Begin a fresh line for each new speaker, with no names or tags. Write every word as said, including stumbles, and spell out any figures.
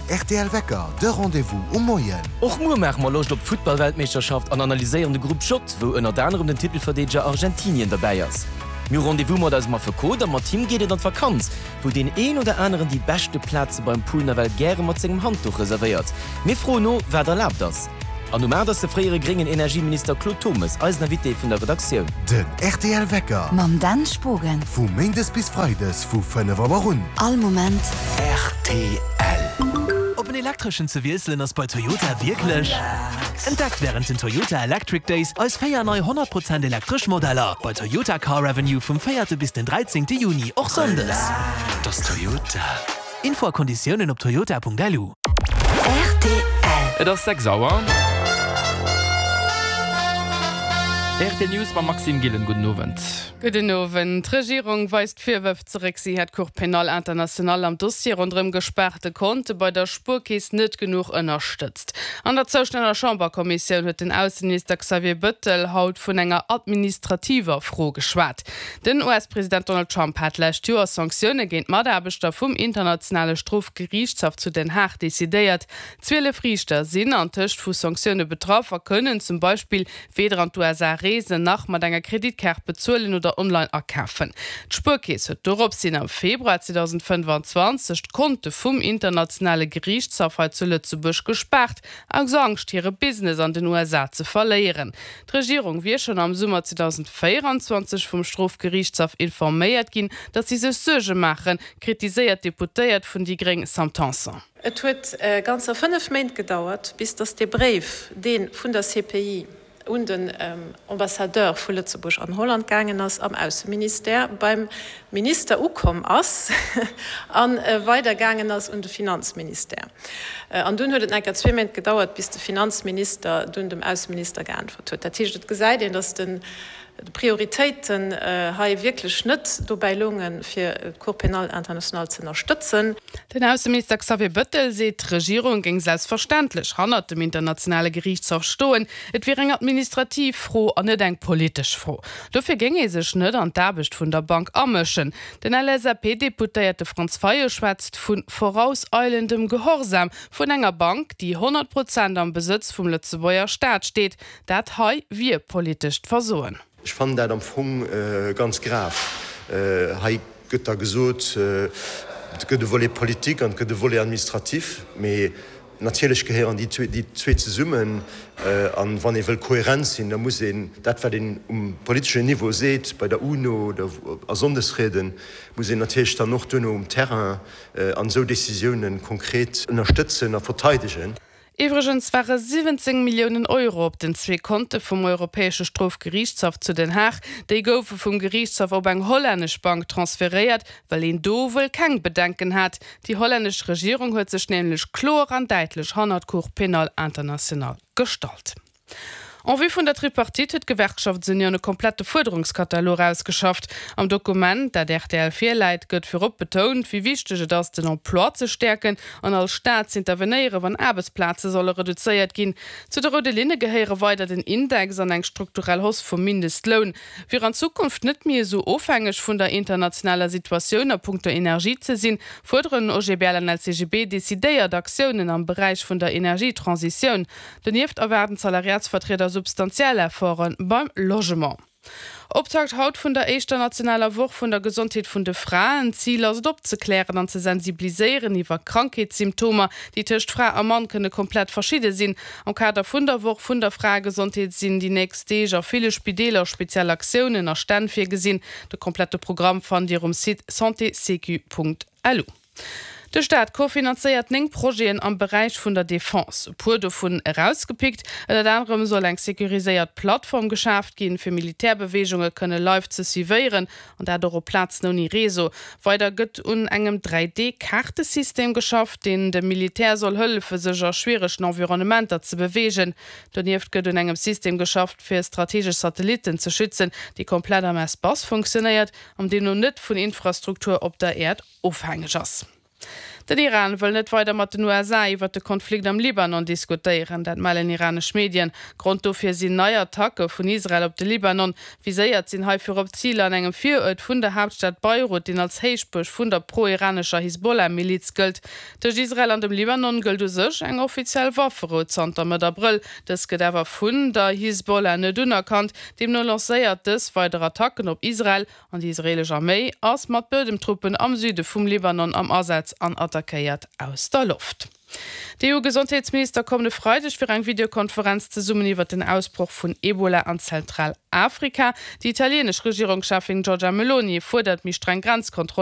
R T L Wecker, de Rendez-vous um Moien.
Och muer maache mer Loscht op d'Futtballweltmeeschterschaft an analyséieren de Grupp J, wou ënnert anerem den Titelverdeedeger Argentinien derbäi ass. Mir hu Rendez-vous mat eisem Affekot a mat him geet et an d'Vakanz, wou deen een oder aneren déi beschte Plaze beim Pool nawell gäre mat sengem Handduch reservéiert. Mir froen no, wat erlaabt ass. An um aacht ass de fréiere gréngen Energieminister Claude Turmes eisen Invité vun der Redaktioun.
Den R T L Wecker.
Mam Dan Spogen.
Vu méindes bis freides vu fënnef Auer un.
All Moment.
R T L. Op en elektreschen ze wiesselen ass bei Toyota wierklech. Entdeckt wärend den Toyota Electric Days eis véier nei honnert Prozent elektresch Modeller bei Toyota Car Avenue vum véierte bis den dräizéngte Juni, och sonndes. Dat ass Toyota. Info a Konditiounen op toyota Punkt L U.
R T L.
Et ass sechs Auer. R T L News mam Maxime Gillen. Gudden Owend.
Gudden Owend. D'Regierung weist Virwërf zeréck, si hätt d'Cour pénale internationale am Dossier ronderëm gespaarte Konte bei der Spuerkeess net genuch ënnerstëtzt. An der zoustänneger Chamberkommissioun huet den Ausseminister Xavier Bettel haut vun enger administrativer Fro geschwat. Den U S-President Donald Trump hat d'lescht Joer Sanktioune géint Mataarbechter vum internationale Strofgeriichtshaff zu Den Haag decidéiert. Zwielef Riichter sinn antëscht vu Sanktioune betraff a kënnen zum Beispill weder an d'U S A reesen, nach mat enger Kreditkaart bezuelen oder online akafen. D'Spuerkeess huet doropshin am Februar zweedausendfënnefanzwanzeg d'Konte vum internationale Geriichtshaff hei zu Lëtzebuerg gespaart, aus Angscht hire Business an den U S A ze verléieren. D'Regierung wier schonn am Summer zweedausendvéieranzwanzeg vum Strofgeriichtshaff informéiert ginn, datt si sech Suerge maachen, kritiséiert d'Deputéiert vun déi Gréng Sam Tanson.
Et huet ganzer fënnef Méint gedauert, bis datt dee Bréif, dee vun der C P I un den Ambassadeur vu Lëtzebuerg an Holland gaangen ass, am Ausseministère beim Minister ukomm ass a weidergaangen ass un de Finanzministère. An dunn huet et nach eng Kéier zwee Méint gedauert, bis de Finanzminister dunn dem Ausseminister geäntwert huet. Dat heescht, et gesäit een, datt d'Prioritéiten hei wierklech net dobäi loungen, fir d'Cour pénale internationale ze ënnerstëtzen.
Den Ausseminister Xavier Bettel seet, d'Regierung géing selbstverständlech hannert dem internationale Geriichtshaff stoen. Et wier eng administrativ Fro an net eng politesch Fro. Dofir géing ee sech net an d'Aarbecht vun der Bank amëschen. Den L S A P-Deputéierte Franz Fayot schwätzt vu vorauseilendem Gehorsam vun enger Bank, déi honnert Prozent am Besëtz vum Lëtzebuerger Staat steet. Dat hei wier politescht Versoen.
Ech fannen dat am Fong ganz grav. Hei gëtt da gesot, et gëtt e Volet politique an et gëtt e Volet administratif, mee natierlech gehéieren déi zwee zesummen. An wann ee wëll kohärent sinn, da muss een dat, wat een um politeschen Niveau seet, bei der UNO oder a Sonndesrieden, muss een natierlech dann och duerno um Terrain an esou Décisiounen konkret ënnerstëtzen a verteidegen.
Iwwregens ware siwwenzéng Milliounen Euro op den zwee Konte vum Europäesche Strofgeriichtshaff zu Den Haag. Déi goufe vum Geriichtshaff op eng hollännesch Bank transferéiert, well een do wuel keng Bedenken hat. Déi hollännesch Regierung huet sech nämlech kloer an däitlech hannert d'Cour pénale internationale gestallt. En vue vun der Tripartite huet d'Gewerkschaftsunioun e komplette Fuerderungskatalog ausgeschafft. Am Dokument, dat R T L virläit, gëtt virop betount, wéi wichteg et ass, den Emploi ze stäerken an als Staat z'intervenéieren, wann Aarbechtsplaze solle reduzéiert ginn. Zu de roude Linne gehéiere weider den Index an eng strukturell Hausse vum Mindestloun. Fir an Zukunft net méi esou ofhängeg vun der internationaler Situatioun a punkto Energie ze sinn, fuerderen O G B L an L C G B decidéiert Aktiounen am Beräich vun der Energietransitioun. Donieft erwaarden d'Salariatsvertrieder substantiell Efforte beim Logement. Optakt haut vun der éischter nationaler Woch vun der Gesondheet vun de Fraen. Zil ass et opzeklären an ze sensibiliséieren iwwer Krankheetssymptomer, déi tëscht Fra a Mann kënne komplett verschidde sinn. Am Kader vun der Woch vun der Fraegesondheet sinn déi nächst Deeg a ville Spideeler speziell Aktiounen a Stänn virgesinn. De komplette Programm fannt Dir um Site santésécu Punkt L U. De Staat kofinanzéiert néng Projeten am Beräich vun der Defense. E puer dovun erausgepickt, Ënnert anerem soll eng securiséiert Plattform geschaaft ginn, fir Militärbeweegunge kënne live ze suivéieren, an dat och op Plazen ouni Réseau. Weider gëtt un engem dräi D-Kaartesystem geschafft, deen dem Militär soll hëllefen, sech a schwieregen Environnementer ze beweegen. Donieft gëtt un engem System geschafft, fir strategesch Satellitten ze schützen, dee komplett am Espace funktionéiert an deemno net vun Infrastruktur op der Äerd ofhängeg ass. Den Iran wëll net weider mat den USA iwwer de Konflikt am Libanon diskutéieren, dat mellen iranesch Medien. Grond dofir sinn nei Attacke vun Israel op de Libanon. Viséiert sinn hei virop Ziler an engem Viruert vun der Haaptstad Beirut, deen als Héichbuerg vun der pro-iranescher Hisbollah-Miliz gëllt. Tëscht Israel an dem Libanon gëllt u sech eng offiziell Wafferou zanter Mëtt Abrëll. Dës gëtt awer vun der Hisbollah net unerkannt. Deemno lancéiert dës weider Attacken op Israel an déi israelesch Arméi ass mat Buedemtruppen am Süde vum Libanon am Asaz an attackéiert aus der Loft. D'EU-Gesondheetsminister kommen e Freideg fir eng Videokonferenz zesummen iwwer den Ausbroch vun Ebola an Zentralafrika. Déi italienesch Regierungscheffin Giorgia Meloni fuerdert méi streng Grenzkontrollen.